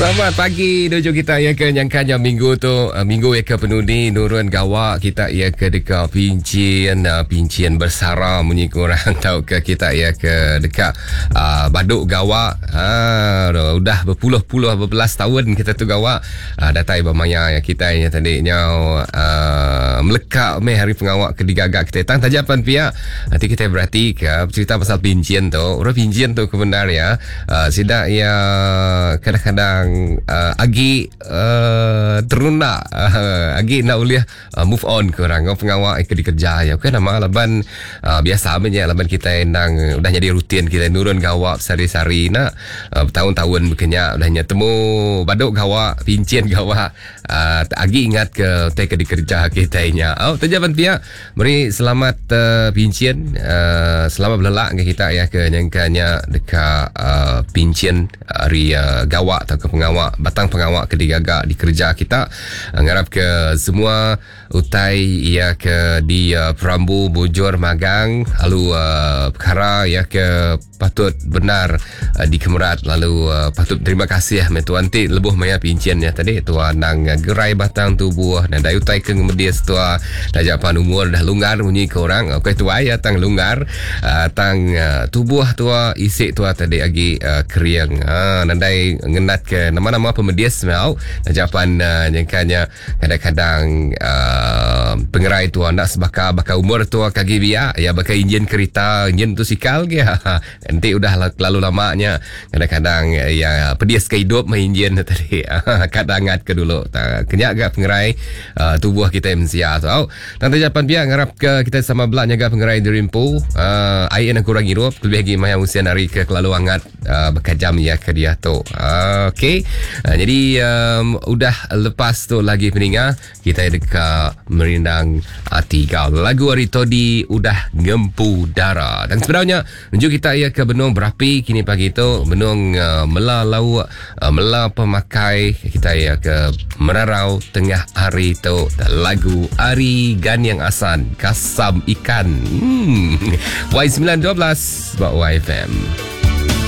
Selamat pagi nuju kita ya ke nyangka nya minggu tu eh, minggu ya ke penudi nurun gawa kita ya ke deka pincin eh, pincin bersara munyi ku orang tauka kita ya ke deka uh, baduk gawa uh, udah berpuluh-puluh berbelas tahun kita tu gawa uh, datai ba maya ya kita nya tadi nyau uh, meleka meh hari pengawa ke digaga kita tang taja pan pia nanti kita berati ke cerita pasal pincin tu orang pincin tu ke bendar ya Uh, sida iya kadang-kadang uh, agi uh, terunda uh, agi nak ulih uh, move on ke orang ngau pengawa ke dikerja ya. Bukan nama laban uh, biasa nya laban kita endang udah jadi rutin kita nurun gawa sehari-hari nak uh, bertahun-tahun bekenya udah nya temu baduk gawa pincin gawa uh, agi ingat ke utai ke dikerja kita nya. Oh, taja pan pia Meri selamat uh, pincin uh, selamat belelak ke kita ya ke nyangka nya deka uh, pincin ari uh, gawa atau ke pengawa batang pengawa ke digaga dikerja kita uh, ngarap ke semua utai ya ke di uh, perambu bujur magang lalu uh, perkara ya ke patut bendar uh, dikemerat lalu uh, patut terima kasih meh tuan ti lebuh maya pincin nya tadi tuan nang uh, gerai batang tubuh dan dai utai ke ngemedis tua taja pan umur dah lunggar munyi ke orang okey tuai ya tang lunggar uh, tang uh, tubuh tua isi tua tadi agi uh, kering uh, nadai ngenat ke nama-nama pemedis mau taja pan uh, nyangkanya Kadang-kadang uh, pengerai tua enda sebaka baka umur tua ke agi biak ya baka enjin kerita enjin motosikal ge enti udah kelalu lama nya kadang-kadang ya pedis ke idup meh enjin tu tadi kad angat ke dulu kenya ga pengerai uh, tubuh kitai mensia tu au tang taja pan pia ngarap ke kitai sama bela nyaga pengerai diri empu uh, ai enda kurang irup kelebih agi maya usin hari ke kelalu angat uh, bekajam iya ke diatu. Uh, Okey. Uh, jadi um, udah lepas tu lagi peninga kita deka merindang ati kau. Lagu ari Todi udah ngempu dara. Dan sebenarnya menuju kita iya ke benung berapi kini pagi tu benung uh, mela lauk uh, mela pemakai kita iya ke merarau tengah hari tu lagu Ari Ganyang Asan Kasam Ikan. Hmm. Y912 ba YFM.